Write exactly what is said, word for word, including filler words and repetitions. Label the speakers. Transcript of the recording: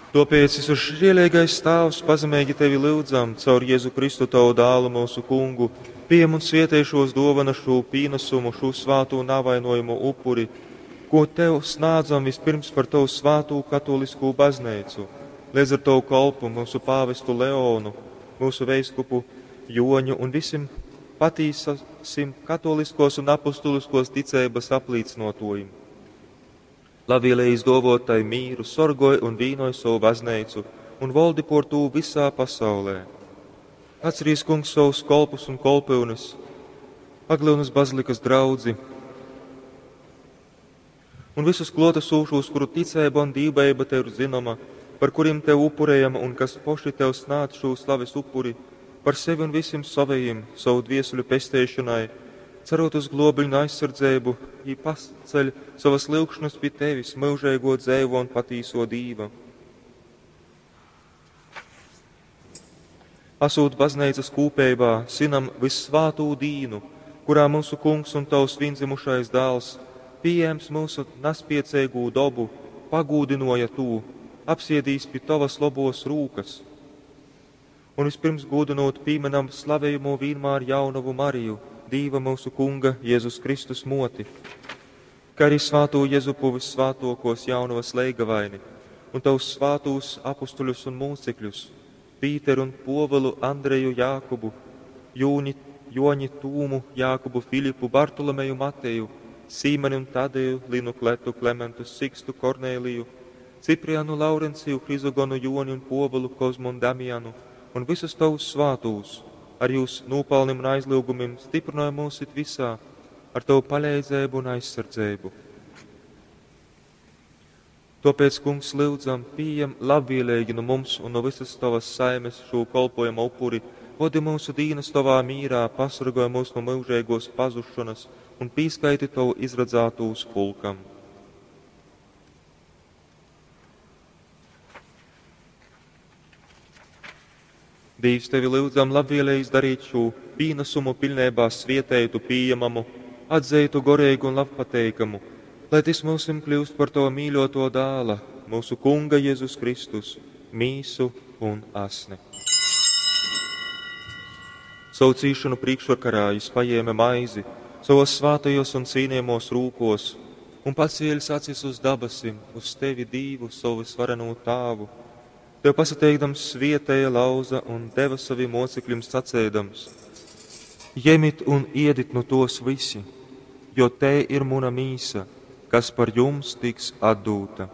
Speaker 1: Tōpēc, visu žieleigais Tāvs, pazemeigi Tevi lyudzam, caur Jezu Kristu Tavu dālu mūsu kungu, pījem un svietej šos dōvanas, šū pīnasumu, šū svātū navainojamu upuri, ko Tev snādzam vispirms par Tavu svātū katoliskū bazneicu, līdz ar Tavu kolpu, mūsu pāvestu Leonu, mūsu veiskupu Joņu un visim patīsasim katoliskos un apustuliskos ticeibas aplīcinotojim. Labvēlīgi izdovot tai mīru, sorgoj un vīnoj savu bazneicu un valdi por tū visā pasaulē. Atcerīs, kungs, savus kolpus un kolpyunes, Aglyunas bazilikas draudzi un visus klotesūšos, kuru ticēba un dīvbeiba tev ir zinoma, par kuriem tev upurējama un kas poši tev snādz šo slaves upuri, par sevi un visiem savējiem, savu dviesuļu pesteišanai, cerot uz globiņu aizsardzību, jī paceļ savas lyugšanas pie tevis, mūžīgo dzēvo un patīso Dīva. Asūt baznīcas kūpeibā, sinam vissvātū dīnu, kurā mūsu kungs un tavs viendzimušais dēls pieejams mūsu naspiecīgū dobu, pagūdinoja tū, apsiedīs pie tavas lobos rūkas. Un vispirms gūdinot pieminam slavējumu vienmēr jaunavu Mariju, Dīva mūsu kunga Jēzus Kristus moti, kā arī svāto Jezupu vissvātokos jaunavas leigavaini un tavus svātūs apustuļus un mūcekļus, Pīteru un Povilu, Andreju, Jākubu, Jūni, Joņi, Tūmu, Jākubu, Filipu, Bartolomeju, Mateju, Sīmeni un Tadeju, Linu Kletu, Klementu, Sikstu, Kornēliju, Ciprianu, Laurenciju, Hrizogonu, Joni un Povilu, Kozmu un Damianu un visus tavus svātūs, ar jūs nopelnim un aizlūgumiem stiprināja mūs it visā, ar tavu palīdzību un aizsardzību. Tāpēc, kungs, lūdzam, pieņem labvēlīgi no mums un no visas tavas saimes šo kolpojumu upuri, vodi mūsu dīnas tavā mīrā, pasargāj mūs no mūžīgos pazušanas un pīskaiti tavu izradzātūs pulkam. Dīvs, tevi lūdzam labvēlīgi izdarīt šo pīnesumu pilnībā svietētu, pieejamamu, atzītu gorīgu un labpateikamu, lai tas mūsim kļūst par to mīļoto dāla, mūsu Kunga Jēzus Kristus, mīsu un asni. Savu cīšanu priekšvakarā jis paņēma maizi, savos svātajos un cīnījamos rūkos, un pacēlis acis uz dabasim, uz tevi Dīvu, savu svareno tāvu. Tev pasateikdams svietēja lauza un deva saviem mocekļiem sacēdams: Jemit un iedit no tos visi, jo te ir muna mīsa, kas par jums tiks atdūta.